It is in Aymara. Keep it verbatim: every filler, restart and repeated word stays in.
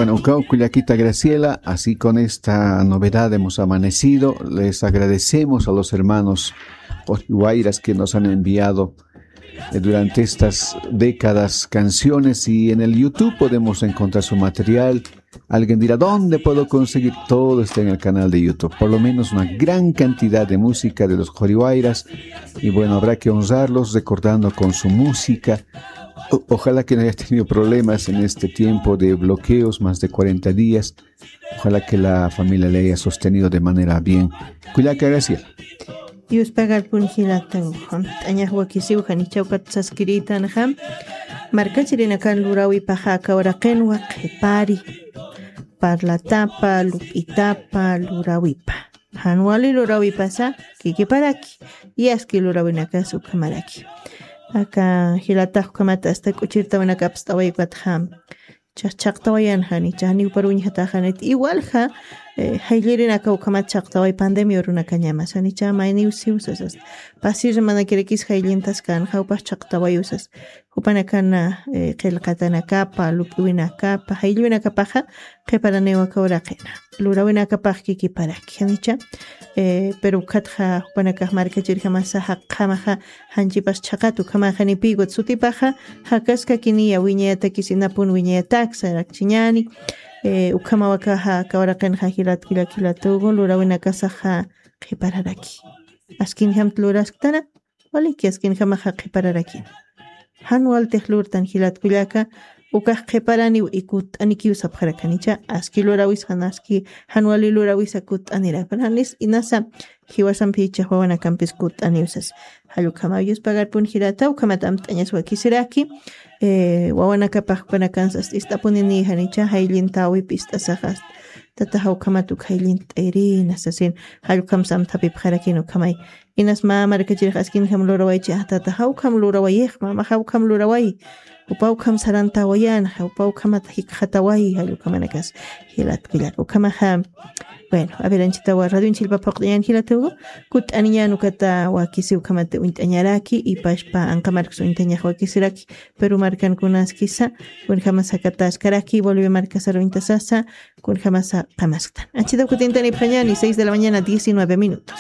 Bueno, ukaw kullakita Graciela, así con esta novedad hemos amanecido. Les agradecemos a los hermanos Qoriwayras que nos han enviado eh, durante estas décadas canciones y en el YouTube podemos encontrar su material. Alguien dirá, ¿dónde puedo conseguir? Todo está en el canal de YouTube. Por lo menos una gran cantidad de música de los Qoriwayras. Y bueno, habrá que honrarlos recordando con su música. O- ojalá que no haya tenido problemas en este tiempo de bloqueos, más de cuarenta días. Ojalá que la familia le haya sostenido de manera bien. Kullaka Graciela. Dios pagar pun jilata ujan. Taña wakisiw janicha ukat saskiritan jam. Markachirinakan lurawipaxa aka uraqinwa qhipari. Parlatapa, lup'itapa, lurawipa. Jan wali lurawipasa kikiparaki. Y aski lurawinakas ukhamaraki. Aka jilatax ukhamata asta k'uchirtawinakapst'away ukat jam. Cha- chaqtawayan janicha, janiw paruñjataxanit. Igualja, eh, jayllirinaka ukhamat chaqtaway pandemia urunakañamas. Janicha mayniw siw sasas. Pasir manakirakis jayllintas kan, jawpax chaqtaway usas. Jupanakana, eh, qillqatanakapa, lup'iwinakapa, jayllwinakapaxa, qhiparaniw aka uraqina. Lurawinakapax kikiparaki. Janicha, eh, pero ukhatxa, jupanakax markachirjamasa, jaqjamaxa, janchipas chhaqat ukhamaxa nipïkut sutipaxa, jakaskakiniya wiñayatakis inapun wiñayataksa rakchiñani, eh, ukhamawakaxa kawraqinxa jilat kullak jilatugu lurawinakasaxa qhipararaki. Askinjamt lurasktana, waliki askinjamaxa qhipararakin. Jan waltix lurtan jilat kullaka, ukax qhiparaniw y kutt'anikiw sapxarakanicha, aski lurawis jan aski, jan wali lurawisa kutt'anirapan, janis inasa, jiwasampi ichax wawanakampis kutt'aniw sas. Jall ukhama Dios pagarpun jilata, ukhamat amt'añas wakisiraki, eh, wawanakapax jupanakansas ist'apunini janicha, jayllintäwip ist'asaxas. Tata jawkhamat uk jayllint'ayrina sasin, jall ukham samthapipxarakin ukhamay. Inas mä markachirix askinjam lurawaychi, ah, tata jawkham lurawayix, mama jawkham luraway. Upa ukham sarantäwayan, upa ukhamat jikxataway, jall ukhamanakas. Jilat kullak ukhamaxa. Bueno, a ver, anchitawa, radio anchilpa phuqt'añan jilatugu, kutt'aniñan ukata wakisi ukhamata uñt'añaraki, y pashpa anqa markas uñt'añax wakisiraki, pero markankunaskisa, kunjama sakataskaraki, Bolivia markasar uñtasasa, kunjamasa qamasktan. Anchitaw kutintanipxañani, seis de la mañana, diecinueve minutos.